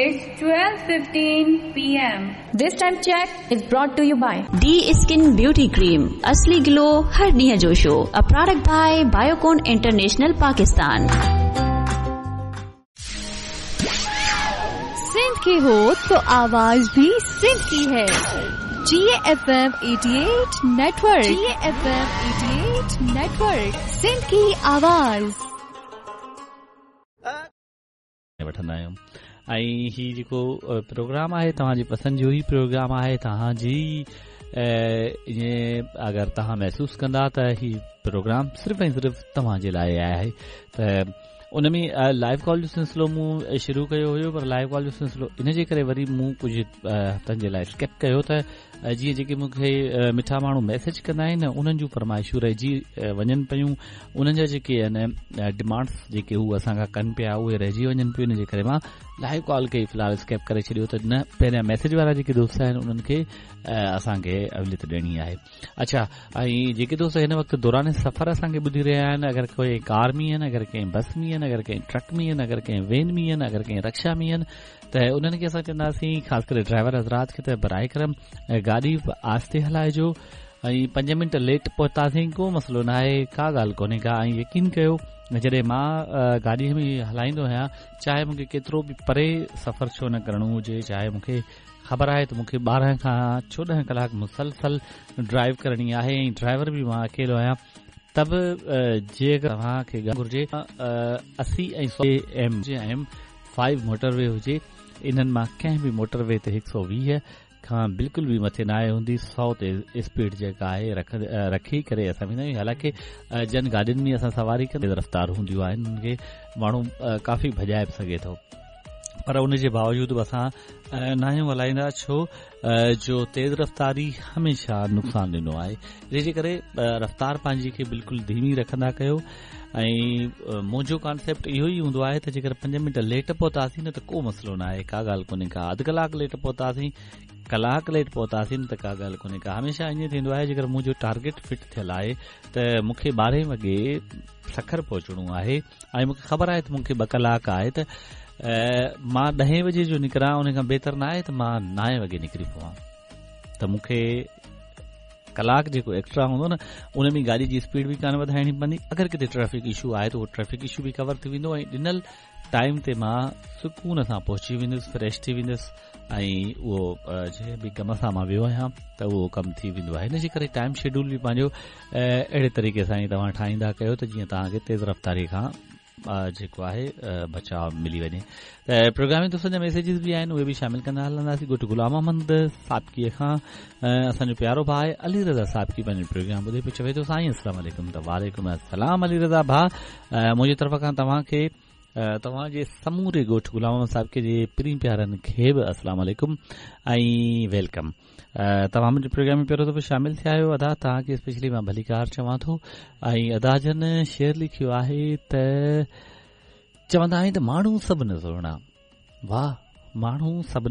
It's 12:15 PM. This time check is brought to you by the skin beauty cream اصلي گلو هر ڏينهن جو show a product by Biocon international Pakistan. Sindh के हो तो आवाज भी सिंध की है। G F M 88 network, G F M 88 network, Sindh की आवाज। वठंदा आहियूं ऐं ही जेको प्रोग्राम आहे तव्हांजी पसंदि जो ई प्रोग्राम आहे। तव्हांजी ईअं अगरि तव्हां महसूसु कंदा त ही प्रोग्राम सिर्फ़ु ऐं सिर्फ़ु तव्हांजे लाइ आहे। त उन में लाइव कॉल जो सिलसिलो मूं शुरू कयो हुयो, पर लाइव कॉल जो सिलसिलो इन जे करे वरी मूं कुझु हफ़्तनि जे लाइ स्किप कयो त जीअं जेके मूंखे मिठा माण्हू मैसेज कंदा आहिनि उन्हनि जूं फरमाइशूं रहिजी वञनि पयूं, उन्हनि जा जेके आहिनि डिमांड्स जेके हू असां खां कनि पिया उहे रहिजी वञनि पियूं। इन जे करे मां लाइव कॉल खे फ़िलहाल स्किप करे छॾियो त न पहिरियां मैसेज वारा जेके दोस्त आहिनि उन्हनि खे असांखे अहलियत ॾियणी आहे। अच्छा, ऐं जेके दोस्त हिन वक़्तु दौरान सफ़र असांखे ॿुधी रहिया आहिनि, अगरि कोई कार में आहिनि, अगरि कंहिं बस में आहिनि, अगरि कंहिं ट्रक में आहिनि, अगरि कंहिं वैन में आहिनि, अगरि कंहिं रिक्शा में आहिनि, त उन्हनि खे असां चवंदासीं ख़ासि करे ड्राइवर हज़रात खे त बराए करम गाॾी आहिस्ते हलाइजो ऐं 5 मिंट लेट पहुतासीं को मसइलो न आहे, का ॻाल्हि कोन्हे का। ऐं यकीन कयो जॾहिं मां गाॾीअ में हलाईंदो आहियां, चाहे मूंखे केतिरो बि परे सफ़र छो न करिणो हुजे, चाहे मूंखे ख़बर आहे त मूंखे 12 खां 14 कलाक मुसलसल ड्राइव करणी आहे ऐं ड्राइवर बि मां अकेलो आहियां, त बि जे तव्हांखे घुरिजे 80 ऐं 100 एम जे M5 motorway हुजे, इन्हनि मां कंहिं बि मोटरवे ते 120 खां बिल्कुलु बि मथे न आहे हूंदी, 100 ते स्पीड जेका आहे रखी करे असां वेंदा आहियूं। हालांकि जन गाॾियुनि में असां सवारी कंदे रफ़्तार हूंदियूं आहिनि, उन्हनि खे माण्हू काफ़ी भॼाए बि सघे थो, पर उन जे बावजूद बि असां न आहियूं हलाईंदा, छो जो तेज़ रफ़्तारी हमेशह नुक़सानु ॾींदो आहे। इन जे करे रफ़्तार पंहिंजी खे बिल्कुलु धीमी रखंदा कयो। ऐं मुंहिंजो कॉन्सेप्ट इहो ई हूंदो आहे त जेकर 5 मिंट लेट पहुतासीं न त को मसइलो न आहे, का ॻाल्हि कोन्हे का। अधु कलाकु लेट पहुतासीं, कलाक लेट पहुतासीं न त का ॻाल्हि कोन्हे का। हमेशह ईअं थींदो आहे जेकर मुंहिंजो टारगेट फिट थियल आहे त मूंखे 12 वॻे सखर पहुचणो आहे ऐं मूंखे ख़बर आहे त मूंखे 2 कलाक आहे, त मां 10 बजे जो निकिरां उन खां बहितर न आहे त मां 9 वॻे निकिरी पवां, त मूंखे कलाक जेको एक्स्ट्रा हूंदो न उन में गाॾी जी स्पीड बि कान वधाइणी पवंदी। अगरि किथे ट्रैफिक इशू आहे त उहो ट्रैफिक इशू बि कवर थी वेंदो ऐं ॾिनल टाइम ते मां सुकून सां पहुची वेंदुसि, फ्रेश थी वेंदुसि ऐं उहो जंहिं बि कम सां मां वियो आहियां त उहो कमु थी वेंदो आहे। हिन जे करे टाइम शेड्यूल बि पंहिंजो अहिड़े तरीक़े सां ई तव्हां ठाहींदा कयो त जीअं तव्हांखे तेज़ रफ़्तारी खां जेको आहे बचाव मिली वञे। त प्रोग्राम में दोस्तनि जा मैसेजिस बि आहिनि, उहे बि शामिल कंदा हलंदासीं। ॻोठु ग़ुलाम अहमद साबिकीअ खां असांजो प्यारो भाउ आहे अली रज़ा साबिकी, पंहिंजो प्रोग्राम ॿुधे पियो, चवे थो साईं अस्सलाम वालेकुम। त वालेकुम अस्सलाम अली रज़ा भाउ, मुंहिंजी तरफ़ खां तव्हांखे तव्हांजे समूरे ॻोठु ग़ुलाम अहमद साबिकी जे प्रीं प्यारनि खे बि अस्सलाम वालेकुम ऐं welcome. तव्हां मुंहिंजे प्रोग्राम में पहिरियों दफ़ो शामिल थिया आहियो अदा, तव्हांखे स्पेशली मां भलीकार चवां थो। ऐं अदा जन शेर लिखियो आहे त चवंदा आहिनि त माण्हू सभु न सुहिणा, वाह माण्हू सभु